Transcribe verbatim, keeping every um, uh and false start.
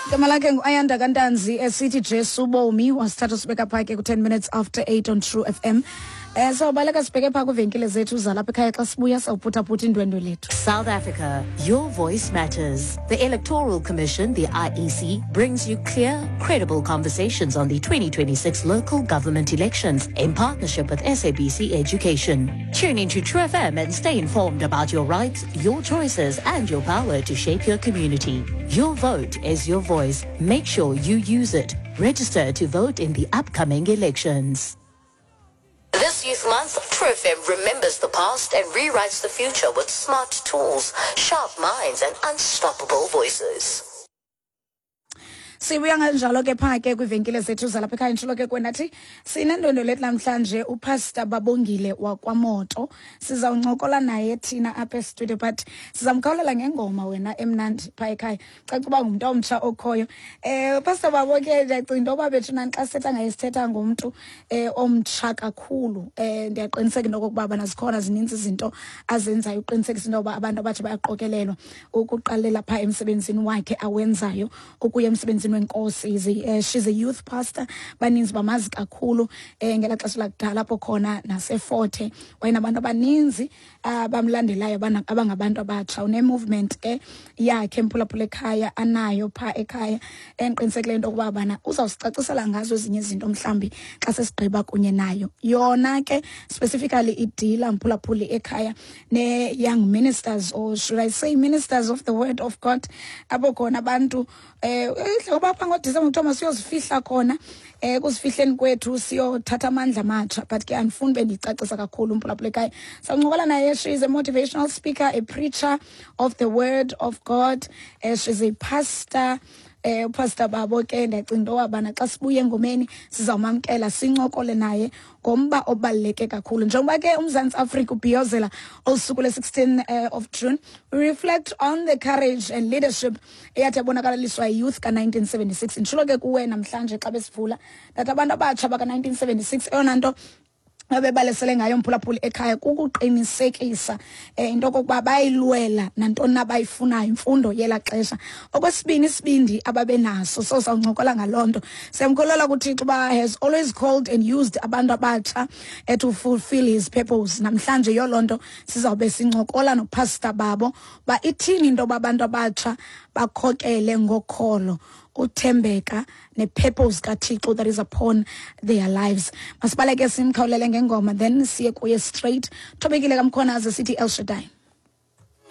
Igama lakhe ngu-Ayanda Kantanzi esithi Jesu Bomi. Wasithatha sibeka phaa ke ku-ten minutes after eight on True F M. um sawubaleka sibheke phaa kwiivenkile zethu zalapha ekhaya. Xa sibuya sawuphuthaphutha indwendwe lethu. South Africa, your voice matters. The Electoral Commission, the I E C, brings you clear, credible conversations on the twenty twenty-six local government elections in partnership with S A B C Education. Tune into True F M and stay informed about your rights, your choices, and your power to shape your community. Your vote is your voice. Make sure you use it. Register to vote in the upcoming elections. This Youth Month, True F M remembers the past and rewrites the future with smart tools, sharp minds, and unstoppable voices. Sibuya kanjalo ke phaa ke kwiivenkile zethu zalapha ekhaya. Nditshilo ke kwenathi sinendwendwe lethu namhlanje, uPastor Babongile wakwaMoto. Sizawuncokola naye thina apha estudio, but sizamkhawulela ngengoma wena emnandi phaa ekhaya. Caca uba ngumntu omtsha okhoyo um uPastor Babo ke. Ndiyacinga into yoba bethu nani xa sithetha ngaye sithetha ngumntu um omtsha kakhulu. um ndiyaqiniseka into okokuba bana zikhona zininzi izinto azenzayo uqinisekisa into yoba abantu abatsha bayaqokelelwa, ukuqalela phaa emsebenzini wakhe awenzayo ukuya emsebenzini wenkosi. Is a, uh, she's a youth pastor. Baninzi bamazi kakhulu um ngelaa xesha lakudala apho khona naseForte wayenabantu abaninzi abamlandelayo abana- abangabantu abatsha. Une-movement ke yakhe, mphulaphula ekhaya, anayo phaa ekhaya, endiqinisekileyo into yokuba bana uzawusicacisela ngazo ezinye izinto mhlawumbi xa sesigqiba kunye nayo. Yona ke specifically idila, mphulaphuli ekhaya, ne-young ministers, or should I say ministers of the word of God, apho khona abantu um ngoba phaa ngoDisemba kuthiwa masiyozifihla khona. um kuzifihleni kwethu siyothatha amandla amatsha, but ke andifuni bendiyicacisa kakhulu, mphulaphula ekhaya. Sawuncokola naye. She is a motivational speaker, a preacher of the word of God. uh, she's a pastor, eh uPastor Babo ke. Ndiyacinga into yobana xa sibuya engomeni sizawumamkela sincokole naye ngomba obaluleke kakhulu. Njengoba ke uMzantsi Afrika ubhiyozela olu suku le-sixteen uh, of June, we reflect on the courage and leadership eyathi yabonakalaliswa yi-youth ka-nineteen seventy-six. Nditshilo ke kuwe namhlanje xa besivula that abantu abatsha baka-nineteen seventy-six, eyona nto abebalesele ngayo, mphulaphuli ekhaya, kukuqinisekisa um into okokuba bayilwela nantoni na abayifunayo, imfundo yelaa xesha. Okwesibini, isibindi ababenaso. So sawuncokola ngaloo nto. Siyamkholela kuThixo uba has always called and used abantu abatsha eh, to fulfill his purpose. Namhlanje yiyo loo nto sizawube sincokola noPastor Babo uba ithini into yoba abantu abatsha bakhokele ngokholo, uthembeka ne-purpose kaThixo that is upon their lives. Masibaleke simkhawulele ngengoma, then siye kuye straight. Thobekile Kamkhonaze sithi El Shaddai.